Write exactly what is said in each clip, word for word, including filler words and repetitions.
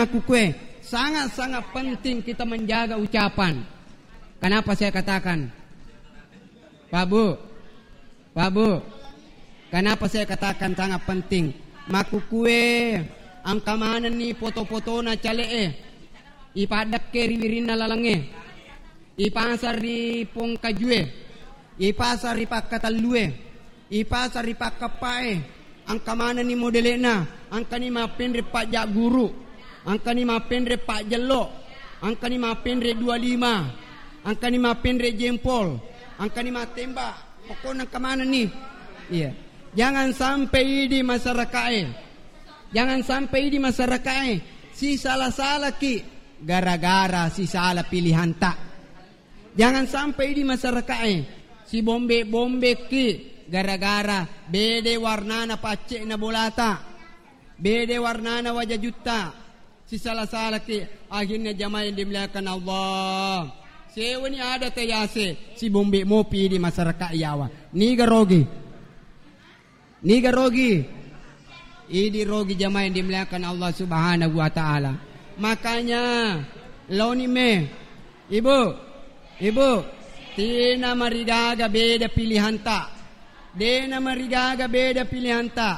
makkukue, sangat-sangat penting kita menjaga ucapan. Kenapa saya katakan? Pak Bu, Pak Bu, kenapa saya katakan sangat penting? Makkukue, engka manenni foto-fotona cale'e, ipaddekke ri wirinna lalengnge, ipasang ri pongkajue, ipasang ri pakkatellue, ipasang ri pakkappae, engka manenni modele'na, engkani mappenre pajjagguru, engkani mappenre pajjello, engkani mappenre dua lima, engkani mappenre jempol, engkani mattembak, pokokna engka manenni. Iya. Jangan sampai idi masyarakat'e. Jangan sampai idi masyarakat'e sisala-salaki gara-gara sisala pilihanta. Jangan sampai idi masyarakat'e sibombe-bombeki gara-gara bede warnana pacce'na bolata, bede warnana wajajutta, sisala-salaki. Akhirnya jamaah yang dimuliakan Allah, sewani ada tayase sibombe mopi idi masyarakat yawa. Niga rogi? Niga rogi? Idi rogi jamaah yang dimuliakan Allah Subhanahu wa Ta'ala. Makanya, laoni me, Ibu, Ibu, tina marigaga beda pilihanta. Dena marigaga beda pilihanta.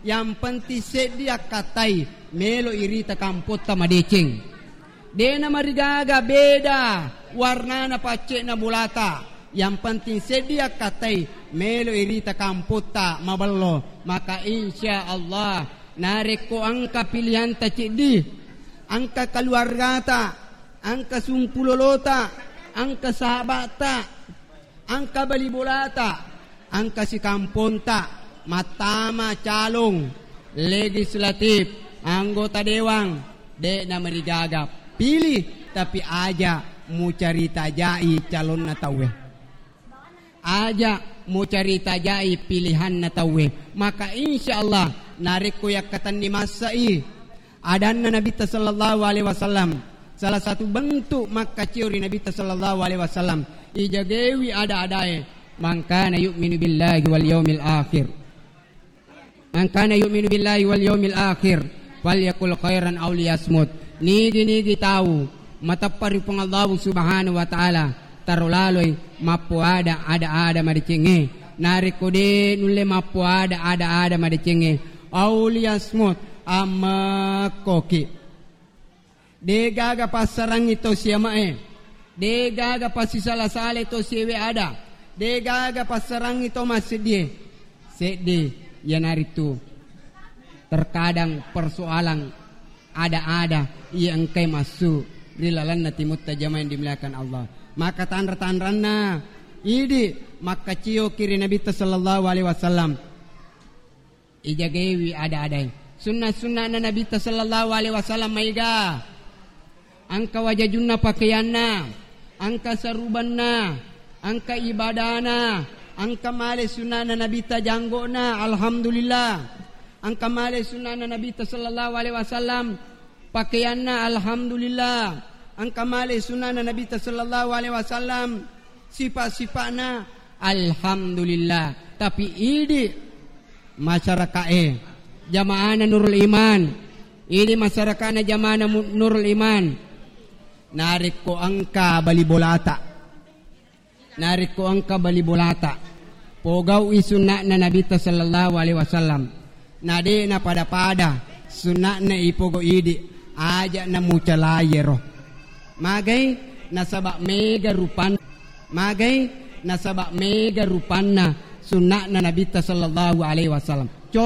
Yang penting seddi akkatai melo irita kampotta madeceng. Dena marigaga beda warnana pacce'na bolata. Yang penting seddi akkatai melo irita kampotta maballo. Maka insya Allah, narekko engka pilihanta ceddi, engka keluargata, engka sumpulolota, engka sahabata, engka bali bolata, engka sikamponta, mattama calon legislatif, anggota dewan, de'na marigaga. Pilih, tapi aja mucarita jai calonna tauwe. Aja mucarita jai pilihanna tauwe. Maka insya Allah, narekko yakkatenni massai adanna Nabitta sallallahu alaihi wasallam, salah satu bentuk makkacio ri Nabitta sallallahu alaihi wasallam, ijagewi ada-adae, "Man kana yu'minu billahi wal yaumil akhir, man kana yu'minu billahi wal yaumil akhir, falyakul khairan aw liyasmut." Nigi-nigi tau mateppa ri Puang Allahu Subhanahu wa Ta'ala, taro laloi mappoada ada-ada madecengnge. Narekko de nulle mappoada ada-ada madecengnge, aw liyasmut, ammekkoki. De gaga passarangngi to siama'e, de gaga passisala-salai to siewe ada, de gaga passarangngi to masseddie. Seddi, iyanaritu terkadang persoalan ada-ada iya engkai massu ri lalenna timutta, jamaah yang dimuliakan Allah. Maka tanra-tanranna idi makkacio ki ri Nabitta sallallahu alaihi wasallam. Ijagewi ada-adae. Sunna-sunnana Nabitta sallallahu alaihi wasallam maega. Engka wajajunna pakeyanna, engka sarubanna, engka ibadana, engka male sunnana Nabitta janggo'na, alhamdulillah. Engka male sunnana Nabitta sallallahu alaihi wasallam pakeyanna, alhamdulillah. Engka male sunnana Nabitta sallallahu alaihi wasallam sipa-sipa'na, alhamdulillah. Tapi idi masyaraka'e, jamaahna Nurul Iman, idi masyaraka'na jamaahna Mu-, Nurul Iman, narekko engka bali bolata, narekko engka bali bolata, pogau'i sunna'na Nabitta sallallahu alaihi wasallam. Na de napada-pada sunna'na ipogo idi, aja namucalai ero. Magai? Nasaba mega rupan-, magai? Nasaba mega rupanna sunna'na Nabitta sallallahu alaihi wasallam.